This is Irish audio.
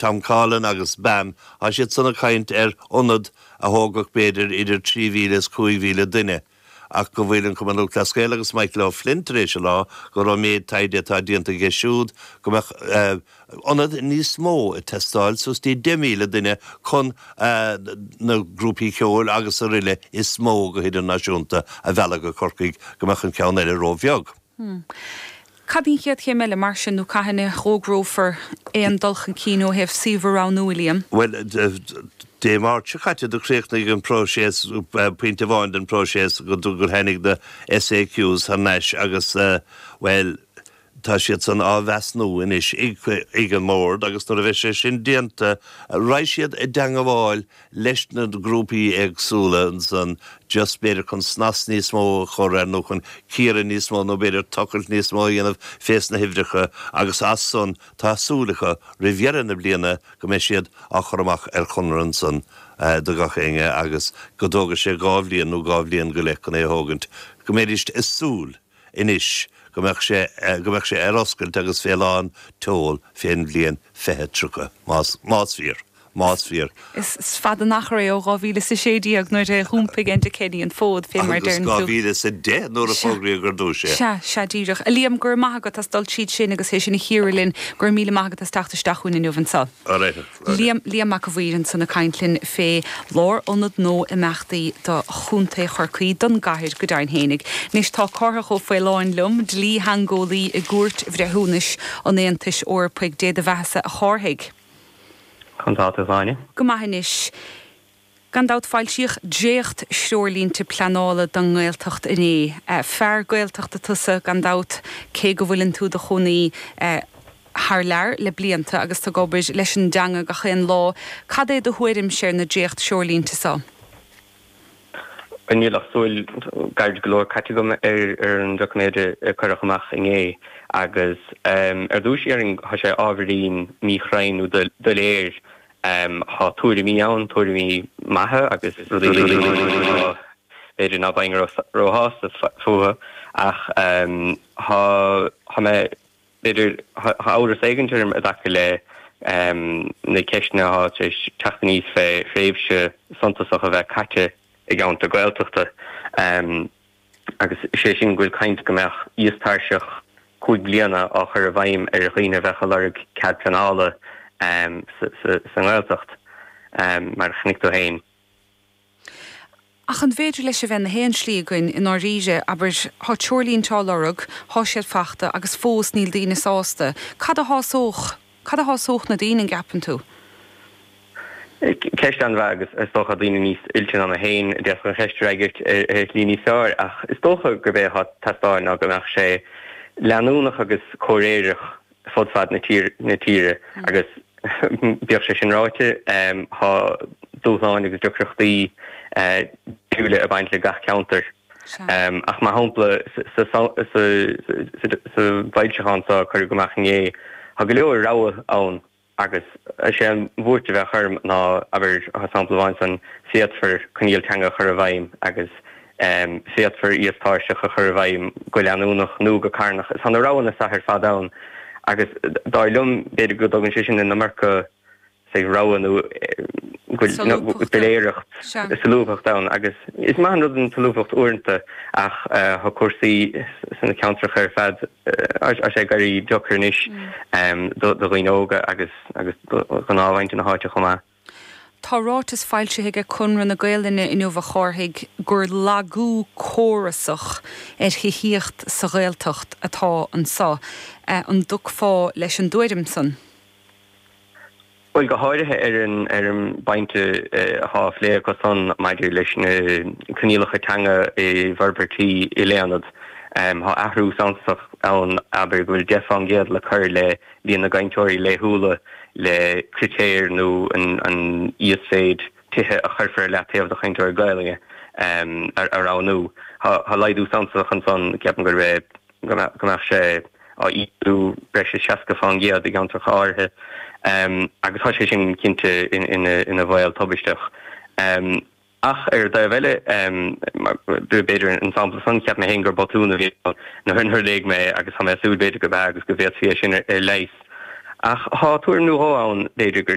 Tom Coughlan agus BAM, tá siad san ag caint ar ionad a thógfadh b'fhéidir idir 3,000 is 5,000 duine ach go bhfuil an Cumann Lúthchleas Gael agus Michael O'Flynn tar éis a rá gur ón méid taighde atá déanta aige siúd go mbeadh ionad níos mó ag teastáil, suas dtí 10,000 duine chun na grúpaí ceoil agus aroile is mó go hidirnáisiúnta a mhealladh go Corcaigh, go mbeadh an ceann eile róbheag. Cad í an chéad chéim eile, mar sin, nó cathain a fhógrófar aon dul chun cinn ó thaobh suíomh a roghnú, a Liam? Bhuel, Dé Máirt seo caite do chríochnaigh an próiseas, pointe amháin den próiseas, go gur tháinig na SAQs thar n-ais agus, bhuel, tá siad san á mheasnú anois ag an mBord agus nuair a bheidh sé sin déanta, raghaidh siad i dteangabháil leis na grúpaí éagsúla ansan just b'fhéidir chun snas níos mó a chur air nó chun cíoradh níos mó nó b'fhéidir tochailt níos mó a dhéanamh fés na huimhreacha agus as san tá súil acu roimh dheireadh na bliana go mbeidh siad á chur amach ar chonradh ansan do gach éinne agus go dtógfaidh sé dhá bhliain nó dhá bhliain go leith chun é a thógaint go mbeidís ag súil anois go mbeadh sé go mbeadh sé ar oscailt agus fé lán tseoil fén bhliain 2030 más más fíor. Más fíor. Is fada an achar é ó 2016 nuair a dh'iompaigh Enda Kenny an fód, fé mar a deireann tú. Agus 2010 nuair a fógraíodh ar dtúis é. Sea, sea, díreach. A Liam, go raibh maith agat as dul tríd sin agus é sin a chíoradh linn. Go raibh míle maith agat as teacht isteach chugainn inniu anseo. All right. Liam, Liam Mac a' Mhaoir ansan ag caint linn fé lárionad nua imeachtaí do Chontae Chorcaí, don gcathair go deimhin fhéinig. Anois tá Cárthach Ó Faoláin liom, dlítheangeolaí i gCúirt Bhreithiúnais an Aontais Eorpaigh. Dé do bheathasa a Chárthaigh. Conas tá tú, a Shláine? Go maith anois. Gan dabht, foilsíodh dréacht-threoirlínte pleanála don nGaeltacht inné. Fear Gaeltachta tusa, gan dabht, cé go bhfuileann tú do chónaí thar lear le blianta agus tú ag obair leis an dteanga gach aon lá. Cad é do thuairimse ar na dréacht-threoirlínte so? Níl ach súil gairid go leor caite agam ar an doiciméad a cuireadh amach inné agus ar dtús déarfainn tá sé ábhairín míchruinn nó doiléir. Tá tuairimí ann, tuairimí maithe agus rudaí b'fhéidir ná beinn róshásta fúthu ach tá mé B'fhéidir, tá amhras éigint orm i dtaca le na ceisteanna atá tar éis teacht aníos fé thréimhse suntasach a bheith caite i gceantar Gaeltachta agus sé sin go bhfuil caint go mbeadh íostairseach 5 bliana á chur i bhfeidhm ar dhaoine a bheadh ag lorg cead pleanála sa nGaeltacht, mar a chonaic tú féin. Ach an bhféidir leis a bheith ina haon slí againn i ndáiríre, abair, thá treoirlínte á lorg, thá siad fachta agus fós níl daoine sásta. Cad a shásódh, cad a shásódh na daoine, an gceapann tú? Ceist an-mhaith agus is dócha daoine níos oilte ná mé féin a d'fhéadfadh an cheist a fhreagairt ar shlí níos fearr ach is dócha gurb é atá ag teastáil ná go mbeadh sé leanúnach agus comhréireach fud fad na tíre agus bíodh sé sin ráite, tá dúshláin agus deacrachtaí difriúla ag baint le gach ceantar. Ach mar shampla, sa bhfoilseachán seo a cuireadh amach inné, tá go leor rogha ann agus is é an bhuairt a bheadh orm ná, abair, sampla amháin san, féadfar coinníoll teanga a chur i bhfeidhm agus Féadfar íostairseach a chur i bhfeidhm go leanúnach nó go carnach. Tá na roghanna seo ar fad ann agus dar liom, b'fhéidir go dtugann sé sin an iomarca say rogha nó go bhfuil doiléireacht, solúbthacht ann agus is maith an rud an tsolúbthacht uaireanta ach tá cúrsaí sna ceantracha ar fad tá sé ag éirí deacair anois do dhaoine óga agus agus do ghnáthmhuintir na háite chomh maith. Tá ráiteas foilsithe aige Conradh na Gaelainne inniu a Chárthaigh gur lagú córasach ar thithíocht sa Ghaeltacht atá anso. An dtiocfá leis an dtuairim san? Bhuel, go háirithe ar an ar an bpointe atá á phlé acu san maidir leis na coinníollacha teanga i bhforbairtí ilaonad. Tá athrú suntasach ann, abair, go bhfuil 10 fán gcéad le cur le líon na gcainteoirí laethúla le critéir nó an íosmhéid tithe a chuirfear ar leataobh do chainteoirí Gaelainne a roghnú. Tá laghdú suntasach ansan, ceapaim gurb é go mbeadh sé á ísliú breis is 60 fán gcéad i gceantracha áirithe agus tá sé sin cinnte ina bhaol tubaisteach. Ach ar an dtaobh eile, b'fhéidir an sampla san, cheap mé féin gur botún a bhí ann nuair a léigh mé é agus tá mé ag súil b'fhéidir gurb ea agus go bhféadfaí é sin a leigheas. Ach thá tuairim nó dhó ann, b'fhéidir, gur.